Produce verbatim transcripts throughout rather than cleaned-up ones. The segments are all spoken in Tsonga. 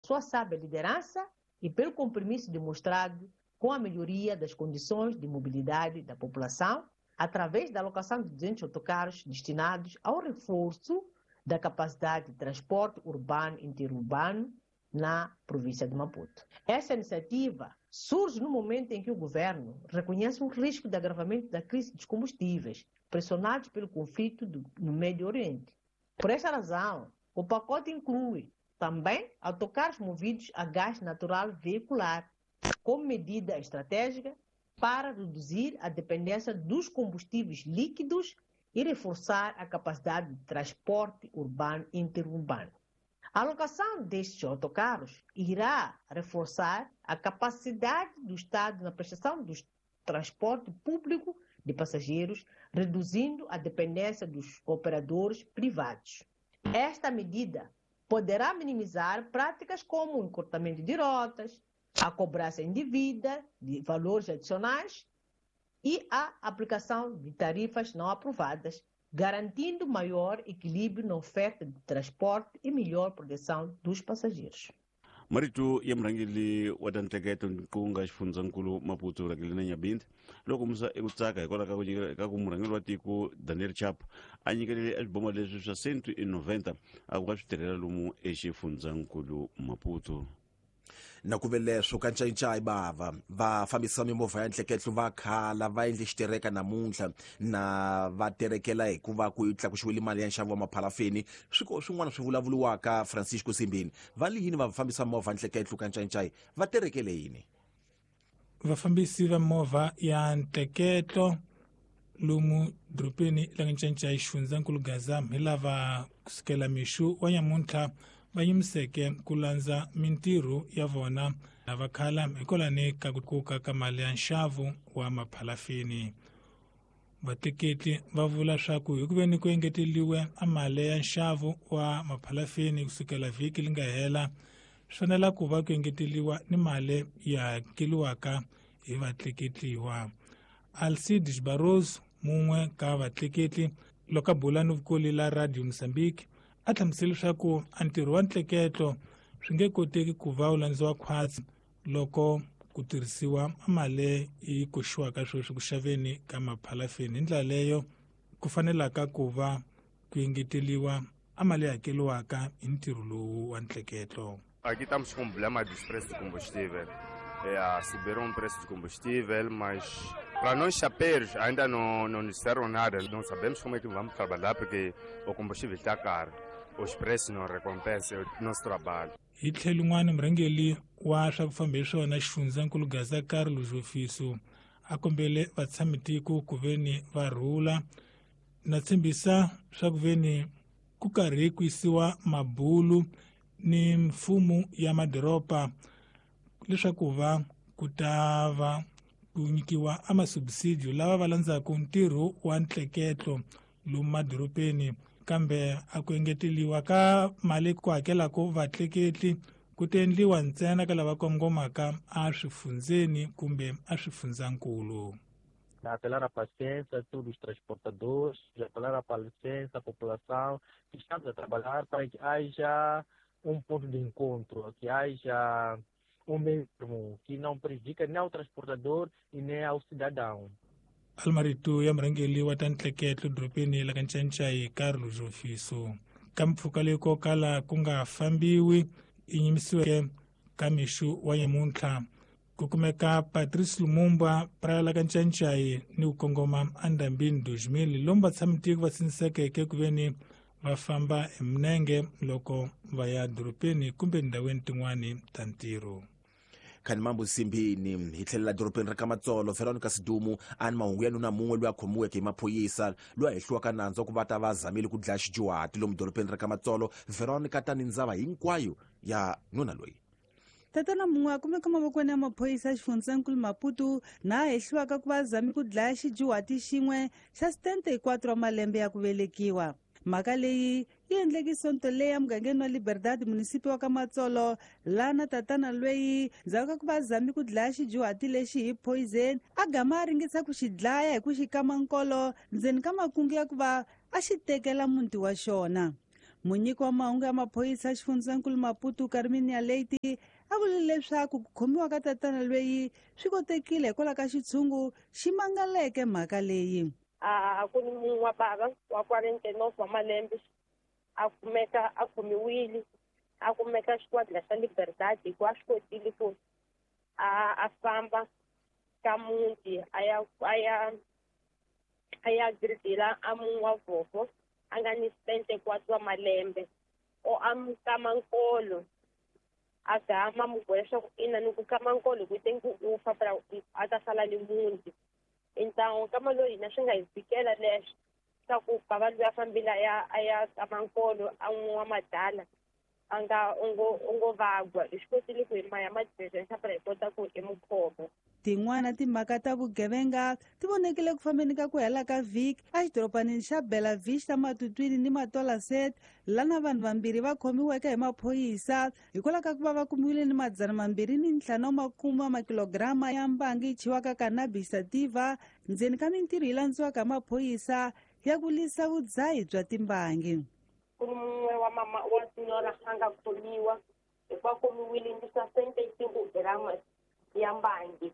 sua sábia liderança e pelo compromisso demonstrado com a melhoria das condições de mobilidade da população, através da alocação de duzentos autocarros destinados ao reforço da capacidade de transporte urbano e interurbano na província de Maputo. Essa iniciativa surge no momento em que o governo reconhece um risco de agravamento da crise dos combustíveis, pressionados pelo conflito do, no Médio Oriente. Por essa razão, o pacote inclui também autocarros movidos a gás natural veicular, como medida estratégica para reduzir a dependência dos combustíveis líquidos e reforçar a capacidade de transporte urbano e interurbano. A alocação destes autocarros irá reforçar a capacidade do Estado na prestação do transporte público de passageiros, reduzindo a dependência dos operadores privados. Esta medida poderá minimizar práticas como o encurtamento de rotas, a cobrança indevida de valores adicionais e a aplicação de tarifas não aprovadas, garantindo maior equilíbrio na oferta de transporte e melhor proteção dos passageiros. Marito ya murhangeri wa ta ntlheketo ku nga xifundzankulu Maputo Rakelina Nyabinde loko musa eku tsaka hikwalaho ka ku nyikela ka ku murhangeri wa tiko Daniel Chapo a nyikelele eswiboma leswi swa cento e noventa a ku va swi tirhela lomu exifundzankulu Maputo. Na ku ve leswo ka ncayincayi bava va fambisa mimovha ya ntleketlo va khala va endle xitereka namuntlha na va terekela hikuva ku tlakuxiwile mali ya nxavo wa maphalafeni. Swiko swin'wana swi vulavuriwaka Francisco Simbini va li yini va fambisa movha ntleketlo ka ncayincayi va terekele yini? Vafambisi va movha ya ntleketlo lomu dorobeni la Ncayincayi xifundzankulu Gaza hi lava kusukela mixo wa nyamuntlha va yimiseke ku landza mintirho ya vona lava khala hikwalani ka ku tlakuka ka mali ya nxavo wa maphalafini. Vatleketli va vula swa ku hi ku veni ku engeteliwe a mali ya nxavo wa maphalafini kusukela vhiki li nga hela, swi fanela ku va ku engeteliwa ni mali ya hakeliwaka hi vatleketliwa. Alcides Barroso, mun'we ka vatleketli loko a bula ni vukoli la Radio Mozambique, a hlamusela leswaku a ntirho wa ntleketlo swi nge koteki ku va wu landziwa khwatsi loko ku tirhisiwa mali yi koxiwaka sweswi ku xaveni ka maphalafeni. Hi ndlela leyo ku fanelaka ku va ku engeteliwa a mali yi hakeliwaka hi ntirho lowu wa ntleketlo. Aqui estamos com um problema dos preços de combustível. É, subiram o preço de combustível, mas para nós chapeiros ainda não, não disseram nada. Não sabemos como é que vamos trabalhar porque o combustível está caro. Os preços não recompensam o nosso trabalho. Hi tlhelo un'wana murhangeri wa swa ku famba hi swona xifundzankulu Gaza Carlos Ofiso a kombele vatshamitiko ku veni va rhula na tshembisa swa ku veni ku karhi ku yisiwa mabulu ni mfumo ya madoroba leswaku va ku ta va ku nyikiwa a masubsidio lava va landzaka ntirho wa ntleketlo lomu madorobeni, kambe a ku engeteliwa ka mali ku hakelaka vatleketli ku ta endliwa ntsena ka lava kongomaka a swifundzeni kumbe a swifundzankulu. Apelar à paciência a todos os transportadores, apelar à paciência à população, que estamos a trabalhar para que haja um ponto de encontro, que haja um mesmo, que não prejudica nem ao transportador e nem ao cidadão. Almarito ya murhangeri wa ta ntleketlo dorobeni la ka Ncayincayi Carlos Ofiso. Ka mpfhuka leyi ko kala ku nga fambiwi yi yimisiweke ka mixo wa nyamuntlha ku kumeka Patrice Lumumba praya la ka Ncayincayi ni ku kongoma endambini dos mil lomu vatshamitiko va sindzisekeke ku veni va famba hi minenge loko va ya dorobeni kumbe ndhawini tin'wani ta ntirho. Khani mambo Simbini hi tlhelela dorobeni ra ka Matsolo Veronica Sidumu a ni mahungu ya nuna mun'we loyi a khomiweke hi maphorisa loyi a hehliwaka nandzu wa ku va ta va zamile ku dlaya xidyuhati lomu dorobeni ra ka Matsolo. Veronica tani ndzava hinkwayo ya nuna loyi. Tatana mun'we a kumeka mavokweni ya maphorisa xifundzankulu Maputo na a hehliwaka ku va zame ku dlaya xidyuhati xin'we xa setenta e quatro wa malembe ya ku velekiwa. Mhaka leyi yi endleke sonto leyi emugangeni wa Liberdade munisipi wa ka Matsolo laha tatana lweyi ndzhaku ka ku va zame ku dlaya xidyuhati lexi hi poison a gama a ringesa ku xi dlaya hi ku xi kama nkolo ndzeni ka makungu ya ku va a xi tekela muti wa xona. Munyiki wa mahungu ya maphorisa xifundzankulu Maputo Carminia Leite a vule leswaku ku khomiwa ka tatana loyi swi kotekile hikwalaho ka xitshungu xi mangaleke mhaka leyi. A ku ni munhu wa bava wa quarante e nove wa malembe a kumeka a khomiwile a kumeka xikwadi xa Liberdade hikuva a swi kotile ku a a famba ka muti a ya a ya a ya gridila a munhu wa vhofo a nga ni setenta e quatro wa malembe o a mu kama nkolo a gama mu boha leswaku ina ni ku kama nkolo hi ku te ku u fa pra a ta sala ni muti. Então kama loyi hina swi nga hi fikela leswo swa ku bava loyi a fambile a ya a ya kama nkolo a n'wi wa madala a nga u ngo u ngo vagwa hi swi kotile ku hi maya madiresa pra hi kota ku hi mu khoma. Tin'wana timhaka ta vugevenga ti vonekile ku fambeni ka ku hela ka vhiki exidorobanini xa Bela Vista Matutwini ni Matola Set lana vanhu vambirhi va khomiweke hi maphorisa hikwalaho ka ku va va kumiwile ni madzana mambirhi ni ntlhanu wa makume wa makilograma ya mbangi yi chiwaka cannabis sativa ndzeni ka mintirho yi landziwaka hi maphorisa ya ku lwisa vudzahi bya timbangi. Ku ni mun'we wa mama wa senhora a nga khomiwa hikuva khomiwile ni sessenta e cinco gramas ya mbangi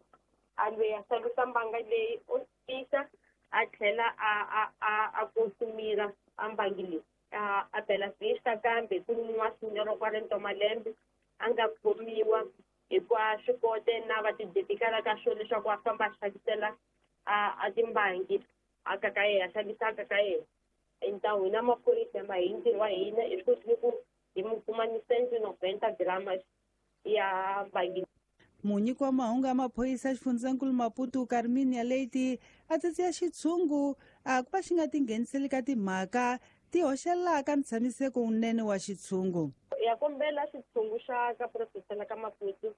a loyi a xavisa mbanga leyi o tisa a tlhela a a a a konsumira a mbangi leyi a a Bela Vista kambe ku ni munhu wa senhora quarenta malembe a nga khomiwa hikuva swi kote na va tidedikala ka swona leswaku a famba a xavisela a a timbangi a ka ka yena a xavisaka ka yena. Então hina maphorisa ma hi ntirho wa hina hi swi kotile ku hi mu kuma ni cento e noventa gramas ya mbangi. Munyiki wa mahungu ya maphorisa xifundzankulu Maputo Carminia Leite a tsatsiya xitshungu a ku va xi nga tingheniseli ka timhaka ti hoxelaka ntshamiseko wunene wa xitshungu. Ya kombela xitshungu xa ka profesela ka Maputo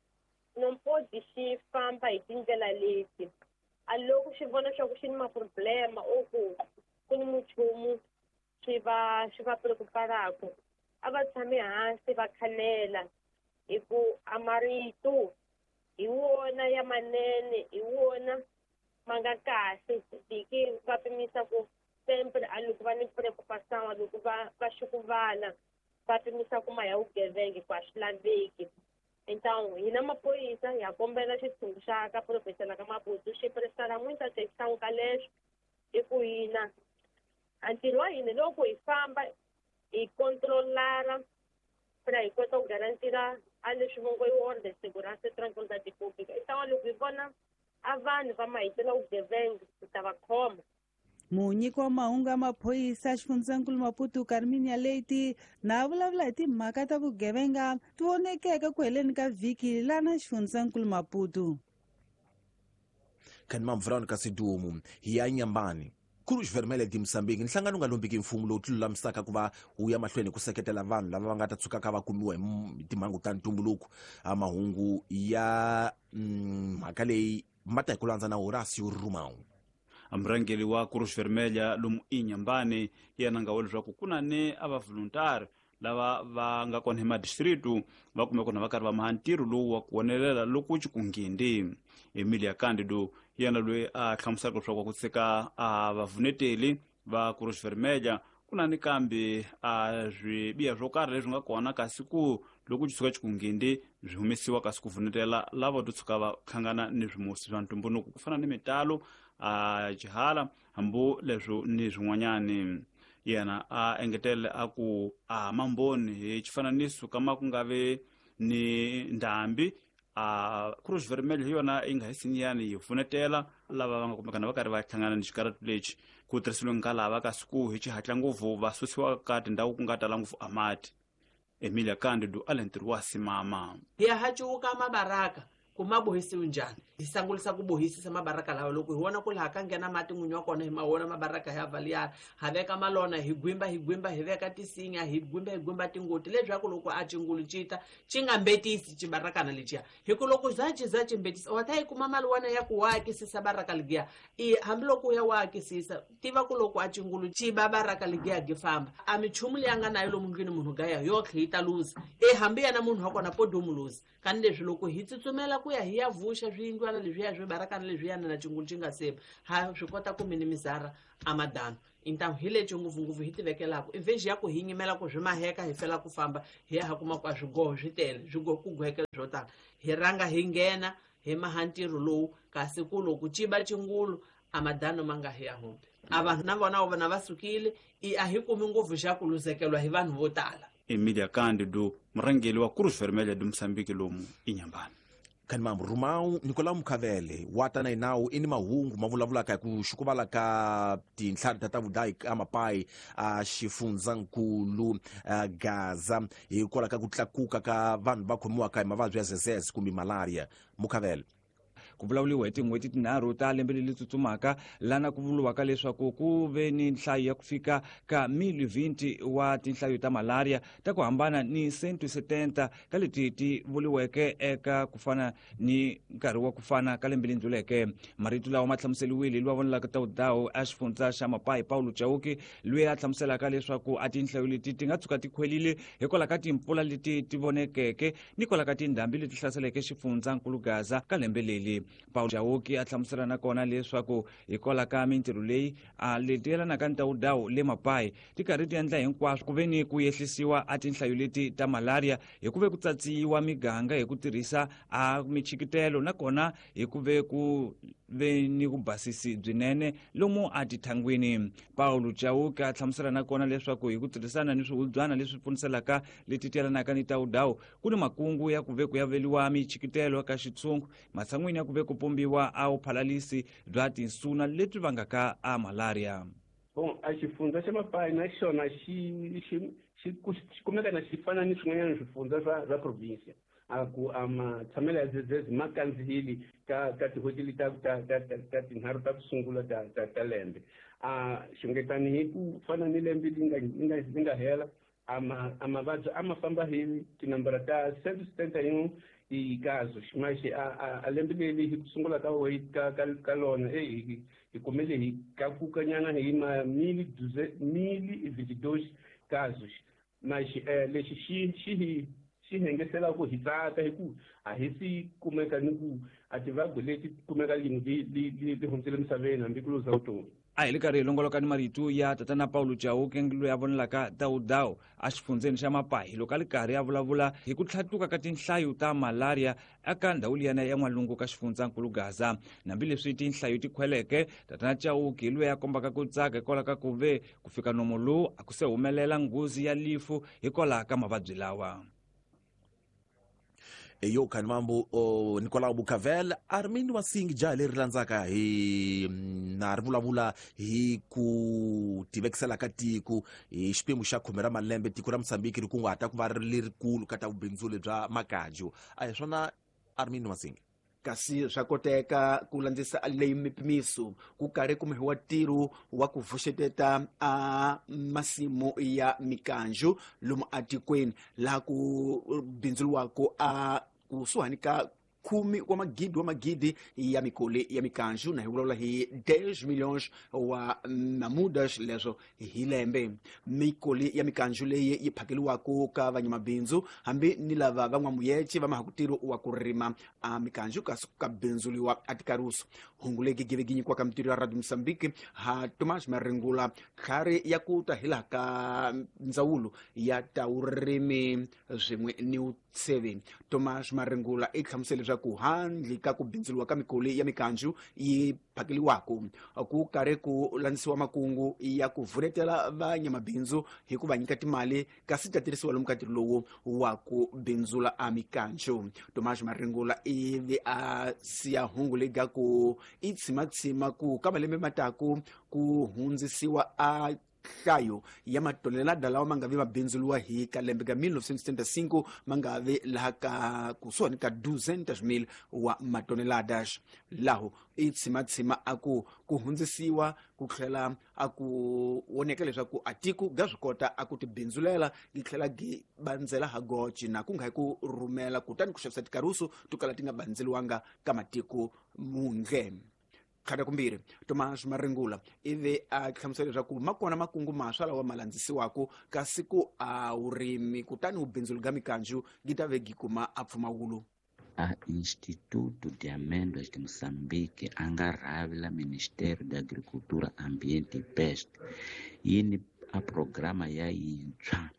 não pode xi famba hi tindlela leti a loko xi vona swa ku xi ni maproblema ou ku ku ni muchumu swi va swi va preocuparaka a va tshami hansi va khanela hi ku a marito hi wona ya manene hi wona ma nga kahle diki va pimisa ku sempre a loko va ni preocupação a loko va va xukuvala va pimisa ku ma ya vugevenga ku a swi laveki. Então hina maphorisa ya kombela xitshungu xa ka profesela ka Maputo xi prestara muita atenção ka leswo hi ku hina a ntirho wa hina loko hi famba hi controlara pra hi kota ku garantira a leswi va ngo i ordem segurança e tranquilidade pública. Então loko hi vona a vanhu va mahitela vugevenga hi ta va khoma. Munyiki wa mahungu ya maphorisa xifundzankulu Maputo Carminia Leite na vulavula hi timhaka ta vugevenga ti vonekeke ku heleni ka vhiki lana xifundzankulu Maputo. Khanima Veronica Sidumo hi ya Nyambani. Cruz Vermelha de Moçambique nhlangano nga lombiki mfumo lowu tilulamisaka ku va wu ya mahlweni ku seketela vanhu lava va nga ta tshukaka va kumiwa hi timhangu ta ntumbuluko. A mahungu ya mhaka leyi ma ta hi ku landza na Horacio Rumau. Murhangeri wa Cruz Vermelha lomu Inyambani yena nga vula leswaku ku na ni a va voluntary lava va nga kona hi madistritu va kume kona va karhi va maha ntirho lowu wa ku wonelela loko ci ku nghindi. Emilia Candido yena loyi a hlamuselaka leswaku ku tshika a vavuneteli va Cruz Vermelha ku na ni kambe a swibiha swo karhi leswi nga kona kasi ku loko ci tshuka ci ku nghindi swi humesiwa kasi ku vunetela lava to tshuka va hlangana ni swimusi swa ntumbuluko ku fana ni mitalo a jihala hambi leswo ni swin'wanyani. Yena a engetele a ku a mamboni hi xifananiso kama ku nga vi ni ndhambi a Cruz Vermelha hi yona yi nga hi sinyani yi pfunetela lava va nga kumekana va karhi va hlangana ni xikaratu lexi ku tirhisiwe nga lava kasi ku hi xihatla ngopfu va susiwa ka tindhawu ku nga tala ngopfu a mati. Emilia Candido a le ntirho wa simama. Hi ya hacuka mabaraka ku ma bohisiwe njhani hi sangulisa ku bohisisa mabaraka lawa loko hi vona ku laha ka nghena mati n'winyi wa kona hi ma vona mabaraka ya valiyana ha veka malona hi gwimba hi gwimba hi veka tisinya hi gwimba hi gwimba tingoti leswaku loko a cingulu cita ci nga mbetisi cibarakana leciya hi ku loko za ci za ci mbetisa wa ta yi kuma mali wana ya ku wa akisisa baraka ligiya i hambiloko u ya wa akisisa tiva ku loko a cingulu ci ba baraka ligiya gi famba a michumu leyi a nga nayo lomu ndlwini munhu gaya yotlhe yi ta luza e hambi yena munhu wa kona podomu luza kani leswi loko hi tsutsumela ku ya hi ya vuxa swiyindlwana swiyindlwana leswiya swi barakana leswiyana na cingulu xi nga seba ha swi kota ku minimizara a madano. Então hi lexi ngopfungopfu hi tivekelaka i vhexi ya ku hi nyimela ku swi maheka hi fela ku famba hi ya ha kuma ku a swigoho swi tele swigoho ku gohekela swo tala hi rhanga hi nghena hi maha ntirho lowu kasi ku loko ciba cingulu a madano ma nga hi ya humbi a vanhu na vona vona va sukile i a hi kumi ngopfu xa ku luzekeriwa hi vanhu vo tala. Emilia Cândido, murhangeri wa Cruz Vermelha do Moçambique lomu Inhambane. Kanimambu Rumau Nicolau Mukhavele wa tana hi nawu i ni mahungu ma vulavulaka hi ku xukuvala ka tintlhari ta ta vudayi ka mapayi a xifundzankulu Gaza hikwalaho ka ku tlakuka ka vanhu va khomiwaka hi mavabyi ya zezeze kumbe malaria. Mukhavele ku vulavuriwa hi tin'hweti tinharhu ta lembe leri tsutsumaka lana ku vuriwaka leswaku ku ve ni nhlayo ya ku fika ka mili vinti wa tinhlayo ta malaria ta ku hambana ni cento setenta ka leti ti vuriweke eka ku fana ni nkarhi wa ku fana ka lembe leri ndluleke. Marito lawa ma hlamuseriwile loyi a vonelaka ta vudawu a xifundza xa Mapai Paulo Chauke loyi a hlamuselaka leswaku a tinhlayo leti ti nga tshuka ti khwelile hikwalaho ka timpfula leti ti vonekeke ni kwalaho ka tindhambi leti hlaseleke xifundzankulu Gaza ka lembe leri. Paulo Chauke a hlamusela na kona leswaku hikwalaho ka mintirho leyi a leti yelanaka ni ta vudawu le Mapai ti karhi ti endla hinkwaswo ku ve ni ku yehlisiwa a tinhlayo leti ta malaria hi ku ve ku tsatsiwa miganga hi ku tirhisa a michikitelo nakona hi ku ve ku ve ni ku basisi byinene lomu a tithangwini. Paulo Chauke a hlamusela na kona leswaku hi ku tirhisana ni swihubyana leswi pfuniselaka leti yelanaka ni ta vudawu ku ni makungu ya ku ve ku yaveliwa michikitelo ka xitshungu matshan'wini ya ku ve ku pombiwa a vuphalalisi bya tinsuna lebyi vangaka a malaria. Bon, a xifundza xa Mapai na xona xi xi xi kumeka na xi fana ni swin'wanyana swifundza swa swa province a ku a matshamelo ya zezeze ma kandziyile ka ka tin'hweti leti ta ta ta ta tinharhu ta ku sungula ta ta ta lembe. A xungetani hi ku fana ni lembe li nga li nga li nga hela a ma a mavabyi a ma famba hi tinambara ta cento setenta e um i casos, mas a a lembe leri hi ku sungula ka ka ka ka lona eh hi kumele hi tlakuka nyana hi ma mil mil e vinte e dois casos, mas eh, lexi xi xi hi xi hengesela ku hi tsaka hi ku a hi si kumeka ni ku a tivabyi leti kumeka lini li li li hundzile misaveni hambi ku luza vutomi. A hi le karhi hi longoloka ni marito ya tatana Paulo Chauke loyi a vonelaka tawudawu a xifundzeni xa Mapai loko a li karhi a vulavula hi ku tlhatuka ka tinhlayo ta malaria eka ndhawu liyana ya n'walungu ka xifundzankulu Gaza. Hambileswi tinhlayo ti khweleke, tatana Chauke loyi a kombaka ku tsaka hikwalaho ka ku ve ku fika nomo lowu a ku se humelela nghozi ya lifu hikwalaho ka mavabyi lawa. Eyo Kanimambu o Nicolau Bucavel Armindo Masingi jaha leri landzaka hi na ri vulavula hi ku tivekisela ka tiko hi xiphemu xa khume ra malembe tiko ra Mozambique ri kunguhata ku va ri lerikulu ka ta vubindzuli bya makaju. A hi swona Armindo Masingi? Kasi swa koteka ku landzisa leyi mipimiso ku karhi kumiwa ntirho wa ku vuxeteta a masimu ya mikanju lomu atikweni laha ku bindzuriwaka a kusuhani ka khume wa magidi wa magidi ya mikoli ya mikanju na hi vulavula hi dez milhões wa mamudas leswo hi lembe. Mikoli ya mikanju leyi yi phakeliwaka ka vanyamabindzu hambi ni lava van'wamuyece va mahakutirho wa ku rima a mikanju kasi ka bindzuliwa a tikaruso. Hungu legi give gi nyikiwaka mitirho ya Radio Mozambique ha Tomás Maringula tlhari ya ku ta hi laha ka ndzawulo ya ta vurimi swin'we ni vutsheve. Tomás Maringula i hlamusele leswaku handle ka ku bindzuriwa ka mikoli ya mikanju yi phakeliwaka ku karhi ku landzisiwa makungu ya ku vuletela vanyamabindzu hi ku va nyika timali kasi ta tirhisiwa lomu ka ntirho lowu wa ku bindzula a mikanju. Tomás Maringula ivi a siya hungu leyi ga ku i tshimatshima ku ka malembe mataku ku hundzisiwa a nhlayo ya matonelada lawa ma nga vi mabindzuliwa hi ka lembe ka mil novecentos e setenta e cinco ma nga vi laha ka kusuhani ka duzentos mil wa matoneladas. Laho i tshimatshima a ku ku hundzisiwa ku tlhela a ku voneka leswaku a tiko ga swi kota a ku tibindzulela gi tlhela gi bandzela ha goci na ku nga hi ku rhumela kutani ku xavisa tikaruso to kala ti nga bandzeliwanga ka matiko mundle. Tlhata kumbirhi Tomás Maringula ivi a hlamusela leswaku ma kona makungu maswa lawa ma landzisiwaka kasi ku a wurimi kutani vubindzuli bya mikanju gi ta ve gi kuma a pfumawulo. A Instituto de Amêndoas de Moçambique a nga rhavi la Ministério da Agricultura, Ambiente e Pesca yi ni a programa ya yintshwa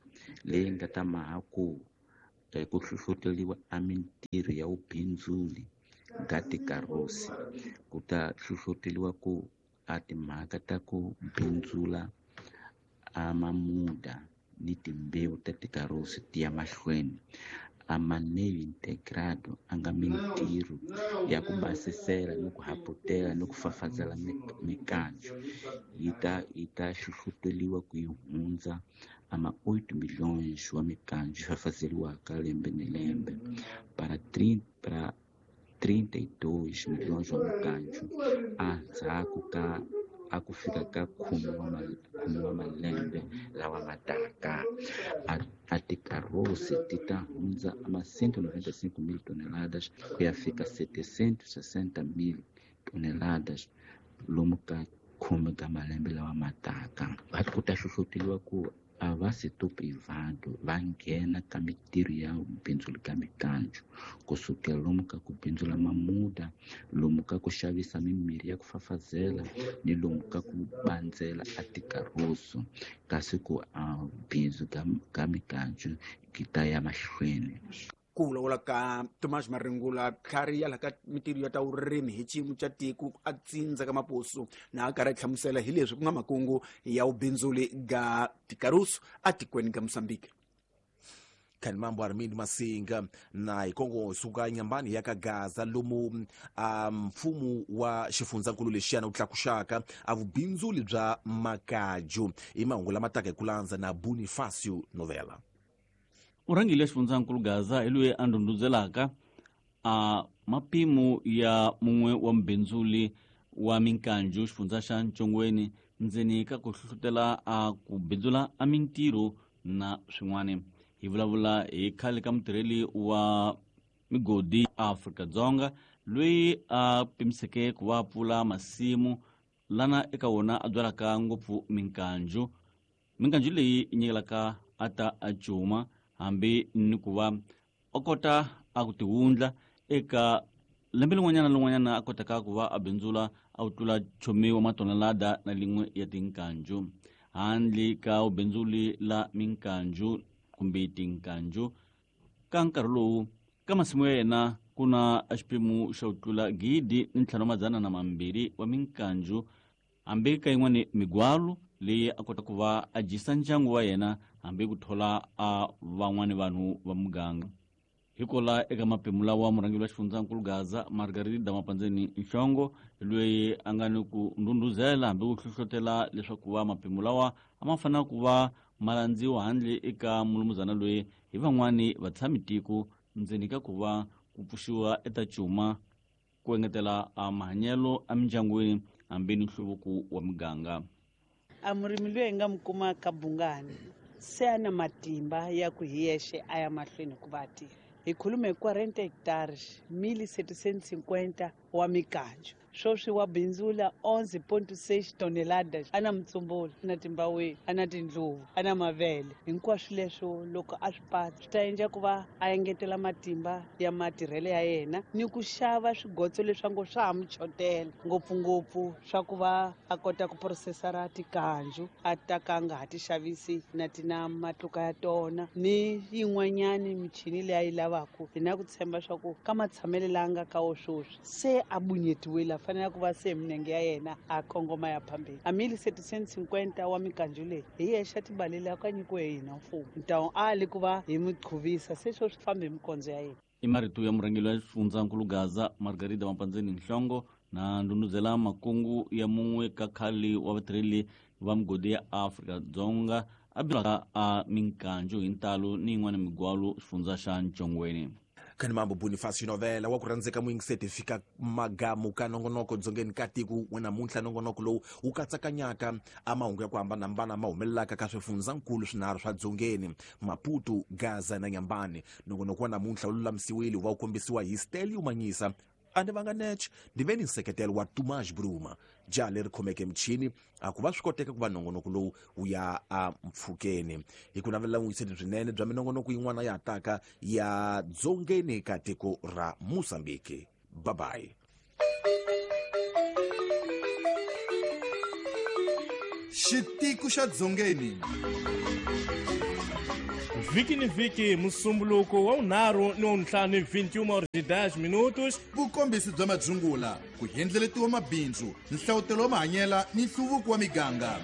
leyi nga ta maha ku ku hlohloteriwa a mintirho ya vubindzuli ka tikarosi ku ta hlohloteriwa ku a timhaka ta ku bindzula a mamuda ni timbewu ta tikarosi ti ya mahlweni. A manejo integrado a nga mintirho ya ku basisela ni ku haputela ni ku fafazela mikanjo yi ta yi ta hlohloteriwa ku yi hundza a ma oito milhões wa mikanjo yi fafazeriwaka lembe ni lembe para para trinta e dois milhões wa mikanjo endzhaku ka a ku fika ka khume wa khume wa malembe lawa ma taka. A tikarosi ti ta hundza ma cento e noventa e cinco mil toneladas ku ya fika setecentos e sessenta mil toneladas lomu ka khume ka malembe lawa ma taka. Va ku ta hlohloteriwa ku a va setor privado va nghena ka mintirho ya bindzu ka mikanjo kusukela lomu ka ku bindzula mamuda, lomu ka ku xavisa mimirhi ya ku fafazela ni lomu ka ku bandzela a tikaroso kasi ku a bindzu ka, ka mikanjo ki ta ya mahlweni. Ku vulavula ka Thomas Maringula tlhari ya la ka mintirho ya ta vurimi hi xiyimo xa tiko a tsindza ka maposo na a karhi a hlamusela hi leswi ku nga makungu ya vubindzuli ga tikarusu atikweni ka Mozambique. Khani mambo Armind Masinga na hikongo suka nyambani ya ka Gaza lomu mfumo wa xifundzankulu lexiyana wu tlakuxaka a vubindzuli bya makaju i mahungu lama taka hi ku landza na Bonifacio Novela. Murhangeri wa xifundzankulu Gaza hi loyi a ndhundhuzelaka a mapimo ya mun'we wa mbindzuli wa minkanjo xifundza xa Ntshongweni ndzeni ka ku hlohlotela a ku bindzula a mintirho na swin'wana. Hi vulavula hi khale ka mutirheli wa migodi Afrika-Dzonga loyi a pimiseke ku va pfula masimu lana eka wona a byalaka ngopfu minkanjo. Minkanjo leyi nyikelaka a ta a cuma hambi ni ku va a kota a ku tiwundla eka lembe lin'wanyana na lin'wanyana a kotaka ku va a bindzula a wu tlula chomi wa matonelada na lin'we ya tinkanju. Handle ka vubindzuli la minkanju kumbe tinkanju ka nkarhi lowu ka masimu ya yena ku na xiphemu xa ku tlula gidi ni ntlhanu madzana na mambirhi wa minkanju hambi ka yin'wani migwalo leyi a kota ku va a dyisa ndyangu wa yena hambi ku thola a van'wani vanhu va muganga. Hikola eka mapemu lawa murhangeri wa xifundzankulu Gaza Margarida Mapandzeni Nhlongo loyi a nga ni ku ndhundhuzela hambi ku hlohlotela leswaku va mapemu lawa a ma fanele ku va ma landziwa handle eka mulumuzana loyi hi van'wani vatshami tiko ndzeni ka ku va ku pfuxiwa eta cuma ku engetela a mahanyelo emindyangwini hambi ni nhluvuko wa muganga. A murimi loyi hi nga mi kuma ka Bungani se a na matimba ya ku hi yexe a ya mahlweni ku va tirha. Hi khulume quarenta hectares, mil setecentos e cinquenta wa mikanjo. Sweswi wa bindzula onze ponto seis toneladas. A na mutsumbulu, a na timbaweni, a na tindluvu, a na mavele. Hinkwaswo leswo loko a swi patsa swi ta endla ku va a engetela matimba ya matirhelo ya yena ni ku xava swigotso leswi ngo swa ha mu chotela ngopfungopfu swa ku va a kota ku processara tikanju a ta ka a nga ha ti xavisi na ti na matluka ya tona ni yin'wanyani michini leyi a yi lavaka. Hi na ku tshemba swa ku ka matshamelo la nga ka wo sweswi se a bunyetiwile fanele ku va se minenge ya yena a kongoma ya phambili. A mil setecentos e cinquenta wa mikanjo leyi hi yexe tibalela ka nyikiwe hi hina mfumo ntawu a li ku va hi mi qhuvisa se swo swi fambi hi mikondzo ya yena. I marito ya murhangeri wa xifundzankulu Gaza Margarida Mapandzeni Nhlongo na ndhundhuzela makungu ya mun'we ka khale wa vatirheli va migodi ya Afrika-Dzonga a byalaka a minkanjo hi ntalo ni yin'wana migwalo xifundza xa Ntshongweni. Khani mambo Bonifacio Novela wa ku rhandzeka muyingiseti fika magamu ka nongonoko dzongeni ka tiko wa namuntlha. Nongonoko lowu wu katsakanyaka a mahungu ya ku hambanahambana ma humelelaka ka swifundzankulu swinharhu swa dzongeni, Maputo, Gaza na Nyambani. Nongonoko wa namuntlha wu lulamisiwile wu va wu kombisiwa hi Stelio Manyisa A ni vanga neche ni ve ni nseketelo wa Tomás Bruma jaha leri khomeke michini a ku va swi koteka ku va nongonoko lowu wu ya a mpfhukeni. Hi ku navelela vuyiseli byinene bya minongonoko yin'wana ya taka ya dzongeni ka tiko ra Mozambique. Bye bye. Xitiko xa Dzongeni vhiki ni vhiki musumbuluko wa vunharhu ni wa vuntlhanu vinte e uma horas e dez minutos. Vukombisi bya madzungula, ku hendleletiwa mabindzu, nhlawutelo wa mahanyela ni nhluvuko wa miganga.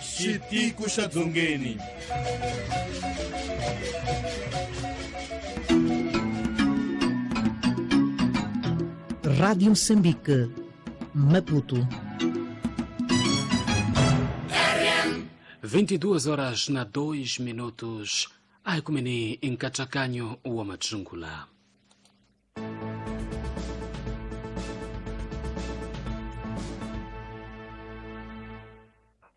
Xitiko xa Dzongeni. Rádio Moçambique, Maputo. vinte e duas horas na dois minutos. Aikumeni nkachakanyo wa madzungula.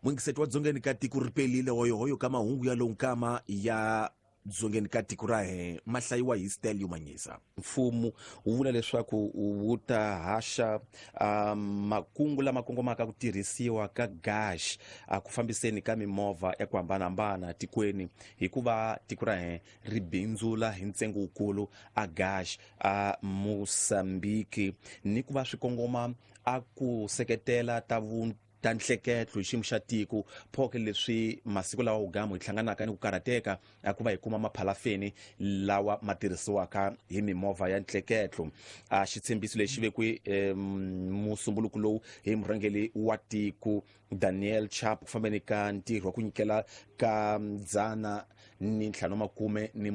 Mwingiseti wa dzongeni ka tiko ri pelile hoyohoyo ka mahungu ya lonkama ya dzongeni ka tiko ra he ma hlayiwa hi Stelio Manyisa. Mfumo wu vula leswaku wu ta haxa um, makungu lama kongomaka ku tirhisiwa ka gas a ku fambiseni ka mimovha ya ku hambanahambana tikweni, hikuva tiko ra he ri bindzula hi ntsengo wukulu a gas a Mozambique, ni ku va swi kongoma a ku seketela ta vu ta nhleketlo hi xiyimo xa tiko. Phoke leswi masiku lawa wugamu hi hlanganaka ni ku karhateka a ku va hi kuma maphalafeni lawa ma tirhisiwaka hi mimovha ya nhleketlo. A xitshembiso lexi vekiwe eh, musumbuluko lowu hi murhangeri wa tiko Daniel Chapo ku fambeni ka ntirho wa ku nyikela ka dzana ni ntlhanu makume ni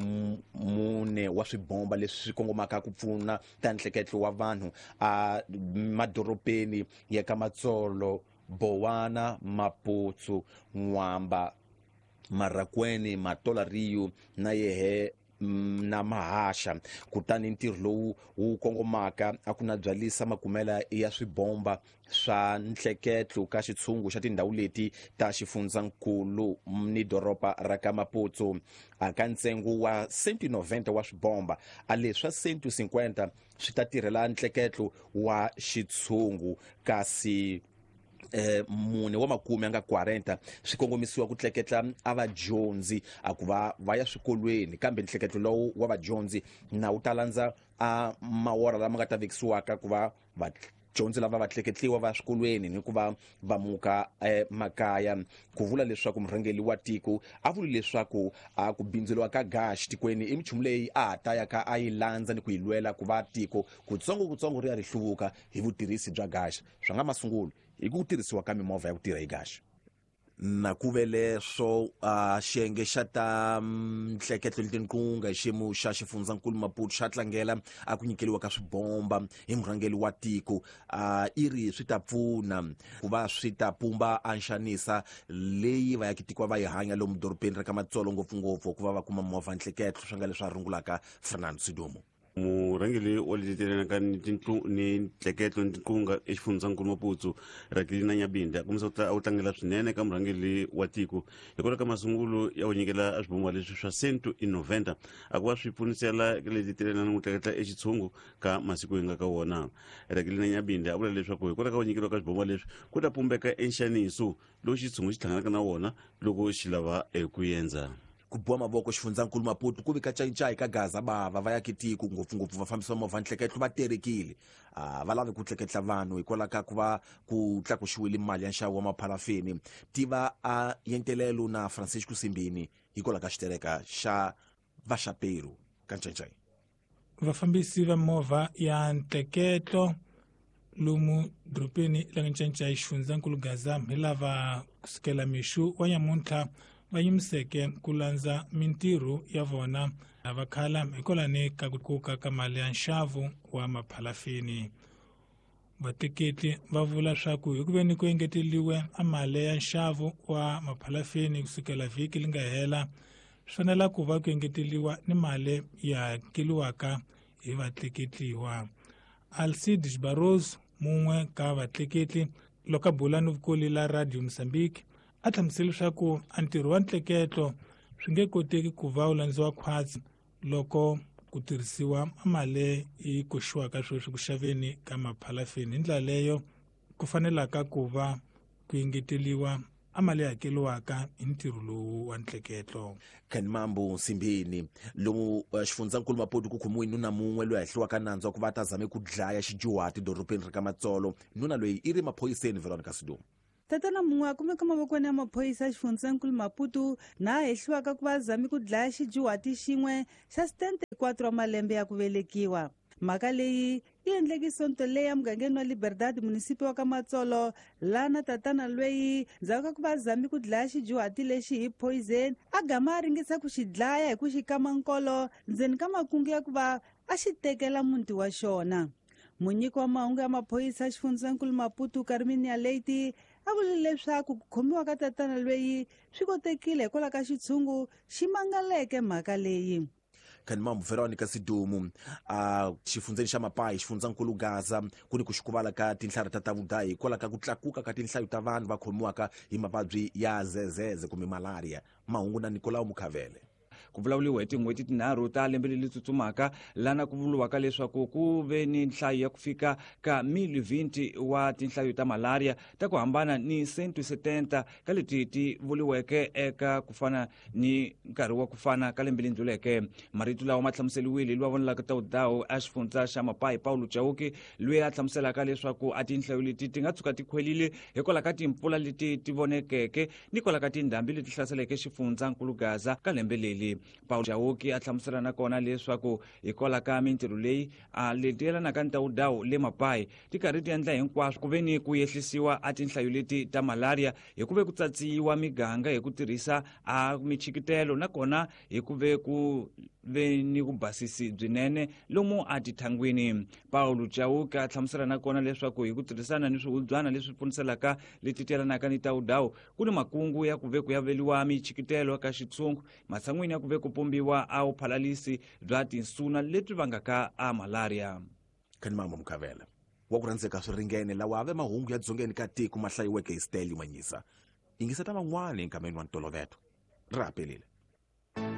mune wa swibomba leswi swi kongomaka ku pfuna ta nhleketlo wa vanhu a madorobeni ya ka Matsolo, Bowana, Maputo, Nwamba, Marracuene, Matola Rio na yehe na Mahasha. Kutani ntirho lowu wu kongomaka a ku na byalisa makumela ya swibomba swa nhleketlo ka xitshungu xa tindhawu leti ta xifundzankulu ni doroba ra ka Maputo. A ka ntsengo wa cento e noventa wa swibomba, a leswa cento e cinquenta swi ta tirhela nhleketlo wa xitshungu, kasi eh mune wa makume anga quarenta swi kongomisiwa ku tleketla a vadyondzi a ku va va ya swikolweni, kambe nhleketlo lowu wa vadyondzi na wu ta landza a mawora lama nga ta vekisiwaka ku va vadyondzi lava va tleketliwa va swikolweni ni ku va va muka eh, makaya. Ku vula leswaku murhangeri wa tiko a vuli leswaku a ku bindzuriwa ka gas tikweni i minchumu leyi a ha ta ya ka a yi landza ni ku yi lwela ku va tiko kutsongo kutsongo ri ya ri hluvuka hi vutirhisi bya gas. Swa nga masungulo hi ku tirhisiwa ka mimovha ya ku tirha hi gas. Na ku ve leswo a xiyenge xa ta nhleketlo letinkunga hi xiyimo xa xifundzankulu Maputo xa tlangela a ku nyikeliwa ka swibomba hi murhangeri wa tiko, a i ri swi ta pfuna ku va swi ta pumba a nxanisa leyi va yakitiko va yi hanya lomu dorobeni ra ka Matsolo, ngopfungopfu ku va va kuma movha nhleketlo swi nga leswi a rungulaka Fernando Sidumo. Murhangeri wa letelanaka ni tintlu ni nhleketlo ni tinkunga exifundzankulu Maputo Rakelina Nyabinde a kombisa ku a wu tlangela swinene ka murhangeri wa tiko hikwalaho ka masungulo ya ku nyikela swibomba leswi swa cento e noventa a ku va swi pfunisela letetelana ni ku tleketla exitshungu ka masiku hi nga ka wona. Rakelina Nyabinde a vula leswaku hikwalaho ka ku nyikeriwa ka swibomba leswi ku ta pumbeka enxaniso lowu xitshungu xi hlanganaka na wona loko xi lava eku endza. Ku boha mavoko xifundzankulu Maputo ku vika cayicayi ka Gaza bava va ya kitiko ngopfungopfu vafambisi va movha nhleketlo va terekile, a va lavi ku tleketla vanhu hikwalaho ka ku va ku tlakuxiwile mali ya nxavo wa maphalafeni. Tiva a yentelelo na Francisco Simbini hikwalaho ka xitereka xa vaxaperu ka ncayicayi. Vafambisi va movha ya nhleketlo lomu dorobeni la ncayicayi xifundzankulu Gaza hi lava kusukela mixo wa nyamuntlha va yimiseke ku landza mintirho ya vona va khala hikwalani ka ku tlakuka ka mali ya nxavo wa maphalafini. Vatleketli va vula swa ku hi ku veni ku engeteliwe a mali ya nxavo wa maphalafini kusukela vhiki li nga hela, swi fanela ku va ku engeteliwa ni mali ya hakeliwaka hi vatleketliwa. Alcides Barroso, mun'we ka vatleketli loko a bula ni vukoli la Radio Mozambique, a hlamusela leswaku a ntirho wa nhleketlo swi nge koteki ku va wu landziwa khwatsi loko ku tirhisiwa mali yi koxiwaka sweswi ku xaveni ka maphalafini. Hi ndlela leyo ku fanelaka ku va ku engeteliwa a mali hakeliwaka hi ntirho lowu wa ntleketlo. Khanimambo Nsimbini lomu xifundzankulu Maputo ku khomiwe nuna mun'we loyi a hehliwaka nandzu wa ku va ta zame ku dlaya xidyuhati dorobeni ra ka Matsolo. Nuna loyi i ri maphoyiseni Veronica Sidumo. Tatana mun'we a kumeka mavokweni ya maphorisa xifundzankulu Maputo na a hehliwaka ku va zame ku dlaya xidyuhati xin'we xa setenta e quatro wa malembe ya ku velekiwa. Mhaka leyi yi endleke sonto leyi emugangeni wa Liberdade, munisipi wa ka Matsolo, laha tatana lweyi ndzhaku ka ku va zame ku dlaya xidyuhati lexi hi poison a gama a ringesa ku xi dlaya hi ku xi kama nkolo ndzeni ka makungu ya ku va a xi tekela muti wa xona. Munyiki wa mahungu ya maphorisa xifundzankulu Maputo, Carminia Leite, a vule leswaku ku khomiwa ka tatana lweyi swi kotekile hikwalaho ka xitshungu xi mangaleke mhaka leyi. Khanimambo Veronica Sidumo a xifundzeni xa Mapayi xifundzankulu Gaza ku ni ku xikuvala ka tinhlari ta tavudayi hikwalaho ka ku tlakuka ka tinhlayo ta vanhu va khomiwaka hi mavabyi ya zezeze kumbe malaria. Mahungu na Nicolau Mukhavele. Ku vulavuriwa hi tin'hweti tinharhu ta lembe leri tsutsumaka lana ku vuriwaka leswaku ku ve ni nhlayo ya ku fika ka mili vinti wa tinhlayo ta malaria ta ku hambana ni cento setenta ka leti ti vuriweke eka ku fana ni nkarhi wa ku fana ka lembe leri ndluleke. Marito lawa ma hlamuseliwile lowa vonelaka tawudawu a xifundza xa Mapayi, Paulo Chauke, loyi a hlamuselaka leswaku a tinhlayo leti ti nga tshuka ti khwelile hikwalaho ka timpfula leti ti vonekeke ni kwalaho ka tindhambi leti hlaseleke xifundzankulu Gaza ka lembe leri. Paulo Chauke a hlamusela nakona leswaku hikwalaho ka mintirho leyi a leti yelanaka ni tawudawu le Mapayi ti karhi ti endla hinkwaswo ku ve ni ku yehlisiwa a tinhlayo leti ta malaria hi ku ve ku tsatsiwa miganga hi ku tirhisa a michikitelo nakona hi ku ve ku ve ni ku basisi byinene lomu a tithangwini. Paulo Chauke a hlamusela nakona leswaku hi ku tirhisana ni swihubyana leswi pfuniselaka leti yelanaka ni tawudawu ku ni makungu ya ku ve ku ya veliwa michikitelo ka xitshungu matshan'wini ya ku ve ku pombiwa a vuphalalisi bya tinsuna lebyi vangaka a malaria. Khanimambo Mukhavele wa ku rhandzeka swi ringene lawa ave mahungu ya dzongeni ka tiko ma hlayiweke hi Stelio Manyisa. Yingiseta van'wani enkameni wa ntoloveto. Ri haperile.